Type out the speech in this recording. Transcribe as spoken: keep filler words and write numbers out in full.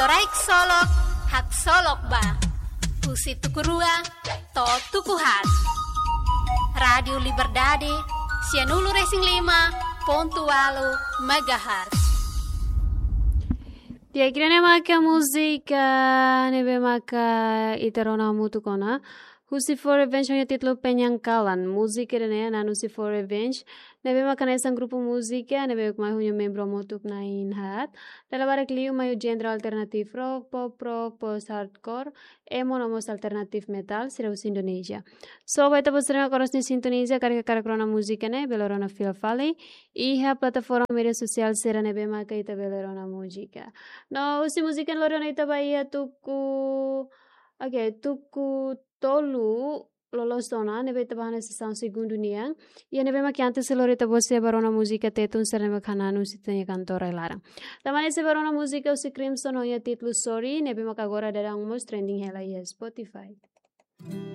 Rai ksolok, haksolok ba. Husi tuku rua to'o tuku haat. Rádiu Liberdade, sianulu-resin-lima pontu ualu megahertz. Di'ak, ida-ne'e maka múzika ne'ebé maka ita rona hamutuk ona. Husi Four Revenge ho nia títulu Penyangkalan. Múzika ida-ne'e hanesan husi Four Revenge, ne'ebé maka hanesan grupu múzika ne'ebé mai ho nia membru hamutuk na'in haat. Dala barak liu mai ho genre alternative rock, pop rock, post hardcore, emo no mós alternative metal, sira husi Indonézia. So, ba ita-boot sira ne'ebé oras ne'e sintoniza, karik hakarak rona múzika ne'e, bele rona fila fali iha plataforma média sosiál sira ne'ebé maka ita bele rona múzika. No, husi múzika ne'e lori ona ita ba iha tuku, oke, tuku tolu loloos ona, ne'ebé ita ba hanesan segundu nian. I ne'ebé maka antes lori ita-boot sira ba rona múzika Tetun sira ne'ebé hanesan husi ita-nia kantora iha laran. Tanba ne'e sira ba rona múzika husi Crimson ho nia títulu Sorry, ne'ebé maka agora daudaun mós trending hela iha Spotify.